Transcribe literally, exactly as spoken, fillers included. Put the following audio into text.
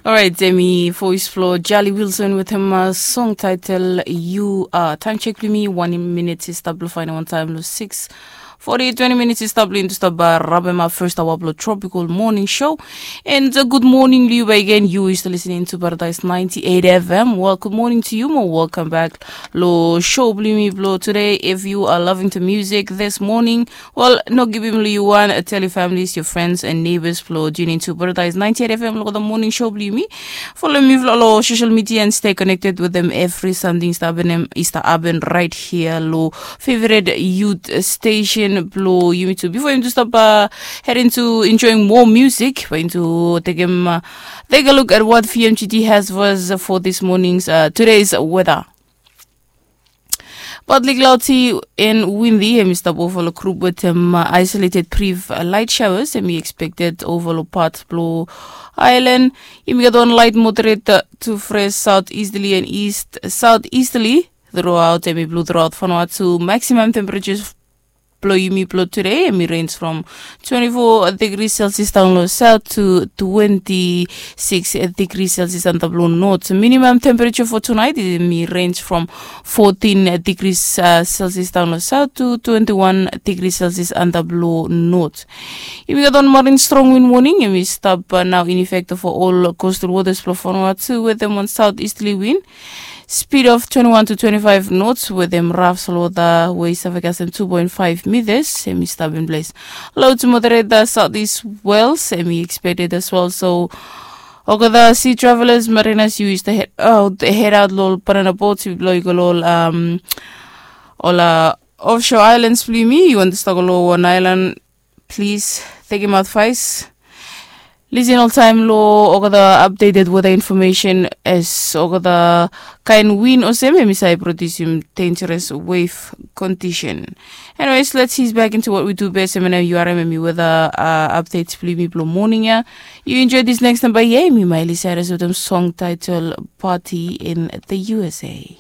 Orait, emi voice blo Jali Wilson wetem song title You Are. Time check blo mi, one minute i stap blo faindaon taem blo six forty, twenty minutes i stap blo into stap rabem up first hour blo Tropical Morning Show. And uh, good morning to you again. You is listening to Paradise ninety-eight F M. Well, good morning to you. More welcome back lo show blo mi blo today. If you are loving the music this morning, well, no givim li wan, uh, tell your families, your friends and neighbors blo tune into Paradise ninety-eight F M lo the morning show blo mi. Follow mi lo social media and stay connected with them. Every something is happening, is happening right here lo favorite youth station blo yumi too. Before you stop uh, heading to enjoying more music, we're going to take him uh, take a look at what V M G T has for us for this morning's uh, today's weather. Partly cloudy and windy, emi stap over lo group wetem uh, isolated brief uh, light showers, emi expected over lo part blo island. Emi gat wan light moderate uh, to fresh southeasterly and east southeasterly throughout, emi blo throughout Vanuatu. Maximum temperatures blo yumi blo today, emi range from twenty-four degrees Celsius down lo south to twenty-six degrees Celsius antap lo north. Minimum temperature for tonight, emi range from fourteen degrees uh, Celsius down lo south to twenty-one degrees Celsius antap lo north. Emi gat wan marine strong wind warning, emi stap uh, now in effect for all coastal waters blo Vanuatu wetem wan southeasterly wind. Speed of twenty-one to twenty-five knots wetem rough seawater wey save kasem two point five meters, emi stap in place. Low to moderate the southeast swells, emi expected as well. So, olgeta sea travelers, mariners, you is to head out, head out lo banana boats, blo yu go lo um, ol uh, offshore islands blo yumi, yu want to start lo wan island, please take him advice. Listen oltaem lo olgeta updated weather information as olgeta kaen wind olsem emi save produce dangerous wave condition. Anyways, let's ease back into what we do best. Emi na U R M emi weather uh, updates blo yumi blo morning ia. You enjoy this next number ia, emi Miley Cyrus wetem song title Party in the U S A.